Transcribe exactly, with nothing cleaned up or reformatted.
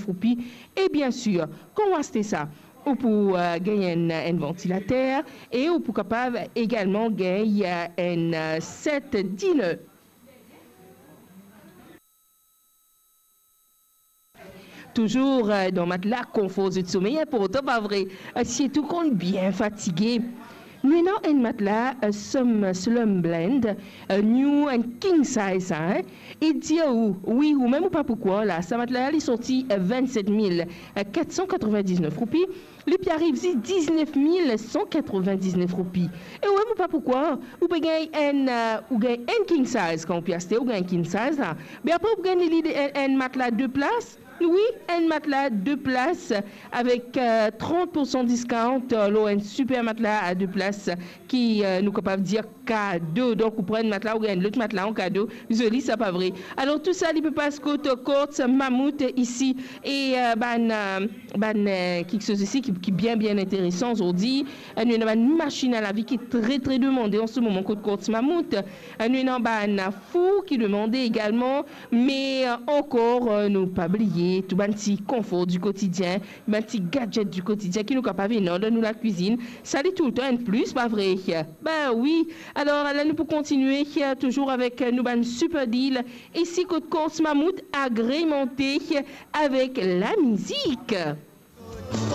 roupi. E bien sir, kan ou aste sa, ou pou, eh, gagn enn, enn vantilater e ou pou kapav egalman gagn, eh, enn, eh, set dinner. Touzour, eh, dan matla, konfor zot somey inportan, pa vre? Eh, sirtou kan ou bien fatige. Nou ena enn matla, eh, Slum-, Slumblend, eh, nou enn king size sa, hein? E dir ou, wi, ou mem ou pa pou krwar la, sa matla la, li sorti, eh, vennset mil kat san katrovin-diznef roupi. Li pe ariv zis diznef mil san katrovin-diznef roupi. E ou mem ou pa pou krwar, ou pe gagn enn, eh, ou gagn enn king size kan ou pe aste, ou gagn king size la. Me apre ou gagn li, li enn, enn matla de plas. Wi, enn matla de plas avek, eh, trant pour san discount, eh, lor enn siper matla a de plas ki, eh, nou kapav dir kado. Donk, ou pran enn matla, ou gagn lot matla an kado. Zoli sa, pa vre? Alor, tou sa, li pe pas kot Courts Mammouth isi. E, eh, bann, eh, bann, eh, kiksoz isi ki, ki bien, bien interesan zordi. Eh, nou ena bann masinn a lavi ki tre, tre demande an se moman kot Courts Mammouth. Eh, nou ena bann four ki demande egalman. Me, eh, ankor, eh, nou pa bliye tou bann ti konfor di kotidien, bann ti gadget di kotidien ki nou kapav ena dan nou lakwizinn. Sa li toultan enn plis, pa vre? Be wi. Alor, la nou pou kontigne, eh, touzour avek, eh, nou bann siper deal. Isi kot Courts Mammouth, agremante, eh, avek lamizik.